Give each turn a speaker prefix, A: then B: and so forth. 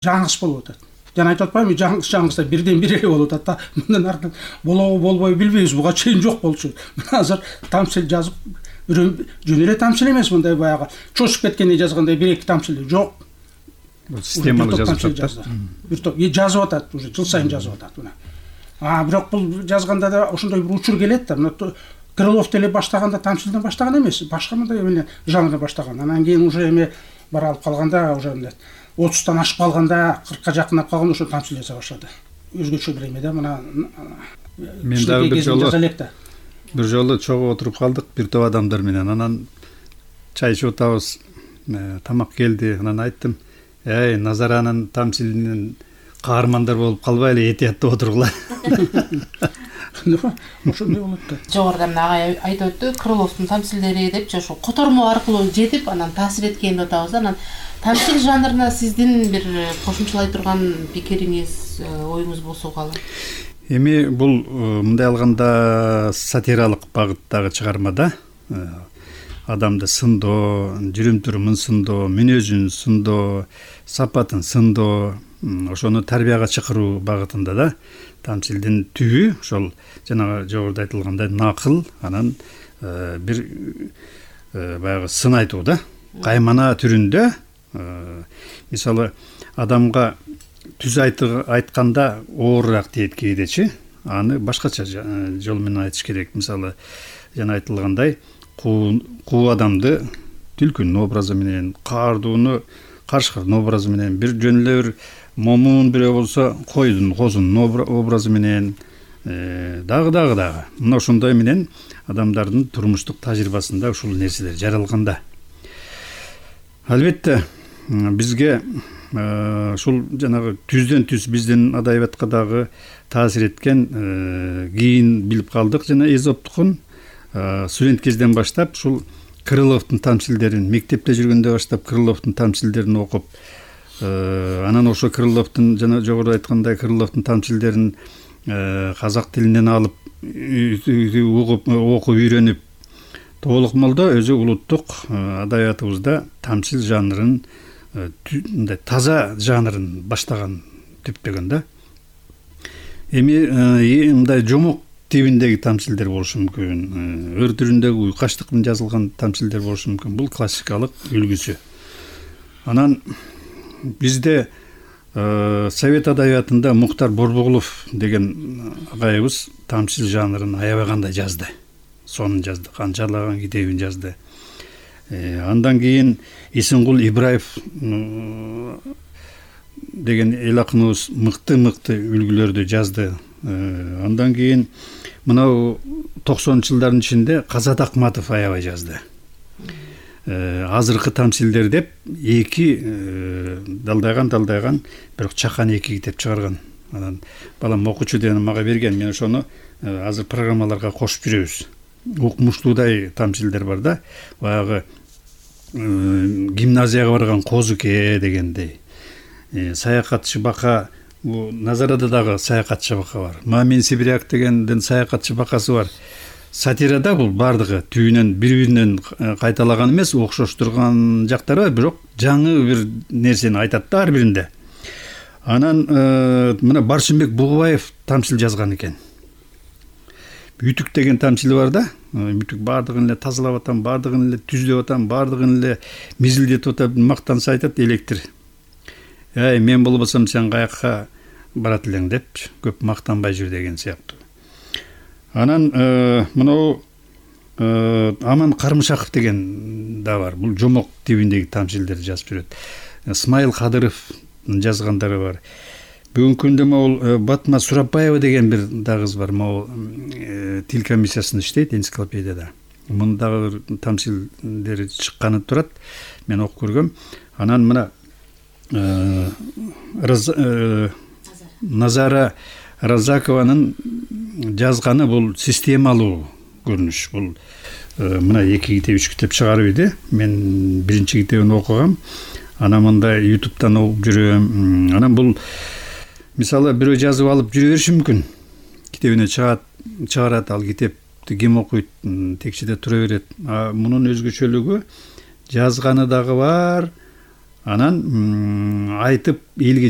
A: жаңылыш болуп атат. Жана айтып атпаймынбы, жаңылышта бирден бир эле болуп атат да. Мындан артын болобу болбойбу билбейбиз. Буга чейин жок болчу. Мына азыр тамчыл жазып, жөн эле тамчыл эмес, мындай баягы чочуп кеткенде жазгандай 1-2 тамчыл жок.
B: Системалуу жазып атат.
A: Бир топ жазып атат, уже жыл сайын жазып атат мына. Бирок бул жазганда да ошондой бир учур келет да. Мына Крылов деле баштаганда тамчылдан баштаган эмес, башка мындай эмне жанрда баштаган. Анан кийин уже эме бар алып калганда, уже 30тан ашып калганда, 40ка жакындап калганда ошо тамчыл жаза баштады. Өзгөчө бир эме да, мына
B: мен дагы бир жолу чогуу отуруп калдык бир топ адамдар менен. Анан чай ичип атабыз, тамак келди. Анан айттым: Назаранын тамчылынын каармандар болуп калбайлы, этияттап отургула.
A: Ошондой болот да.
C: Жогоруда мына агай айтып өттү, Крыловдун тамчилдери депчи, ошо котормо аркылуу жетип, анан таасир эткен деп атабыз. Анан тамчыл жанрына сиздин бир кошумчалай турган пикириңиз, оюңуз болсо калы?
B: Эми бул мындай алганда сатиралык багыттагы чыгарма да. Адамды сындоо, жүрүм-турумун сындоо, мүнөзүн сындоо, сапатын сындоо, ошону тарбияга чакыруу багытында да. Тамчылдын түбү ошол жанагы жогоруда айтылгандай накыл, анан бир баягы сын айтуу да. Каймана түрүндө, мисалы адамга түз айтканда оорураак тиет кээдечи, аны башкача жол менен айтыш керек. Мисалы жана айтылгандай куу адамды түлкүнүн образы менен, каардууну карышкардын образы менен, бир жөн эле бир момун бирөө болсо койдун, козунун образы менен, дагы. Мына ошондой менен адамдардын турмуштук тажрыйбасында ушул нерселер жаралганда. Албетте бизге ушул жанагы түздөн түз биздин адабиятка дагы таасир эткен, кийин билип калдык жана Эзоптукун студент кезден баштап ушул Крыловдун тамчилдерин, мектепте жүргөндө баштап Крыловдун тамчилдерин окуп, анан ошо Крыловдун жана жогоруда айткандай Крыловдун тамчилдерин казак тилинен алып окуп үйрөнүп, толук молдо өзү улуттук адабиятыбызда тамчыл жанрын, мындай таза жанрын баштаган түптөгөн да. Эми мындай жомок тибиндеги тамчилдер болушу мүмкүн, өр түрүндөгү уйкаштык менен жазылган тамчилдер болушу мүмкүн. Бул классикалык үлгүсү. Анан бизде совет адабиятында Муктар Борбоголов деген агайыбыз тамчыл жанрын аябай кандай жазды. Сонун жазды, канчалаган китебин жазды. Андан кийин Исенгул Ибраев деген эл акыныбыз мыкты үлгүлөрдү жазды. Андан кийин мынау 90-жылдардын ичинде Казат Акматов аябай жазды. Азыркы тамчилдер деп эки далдайган, бирок чакан эки китеп чыгарган. Анан балам окучу деген мага берген, мен ошону азыр программаларга кошуп жүрөбүз. Укмуштуудай тамчилдер бар да, баягы гимназияга барган Козуке дегендей, саякатчы бака, Назарада дагы саякатчы бака бар. Мамин Сибиряк дегенден саякатчы бакасы бар. Сатирада бул бардыгы түбүнөн бири-биринен кайталаган эмес, окшоштурган жактары бар, бирок жаңы бир нерсени айтат да ар биринде. Анан мына Баршынбек Бугубаев тамчыл жазган экен. Үтүк деген тамчылы бар да. Үтүк бардыгын эле тазалап атам, бардыгын эле түздөп атам, бардыгын эле мизилдетип атам, мактанса айтат электир. Мен болбосом сен каякка барат элең деп, көп мактанбай жүр деген сыяктуу. Анан мынау Аман Кармышаков деген да бар. Бул жомок тибиндеги тамчилдерди жазып жүрөт. Исмайыл Кадыров жазгандары бар. Бүгүнкү күндө могул Батма Сурапбаева деген бир кыз бар. Могул тил комиссиясында иштейт, энциклопедияда. Мунун дагы тамчилдери чыкканы турат. Мен окуп көргөм. Анан мына Назара Разакованын жазганы бул системалуу көрүнүш. Бул мына 2 китеп, 3 китеп чыгарып иди. Мен биринчи китебин окугам. Анан мындай YouTube'дан окуп жүрөм. Анан бул мисалы бирөө жазып алып жүрө бериши мүмкүн. Китебине чыгарат, ал китепти ким окуйт, текчеде тура берет. Мунун өзгөчөлүгү жазганы дагы бар, анан айтып элге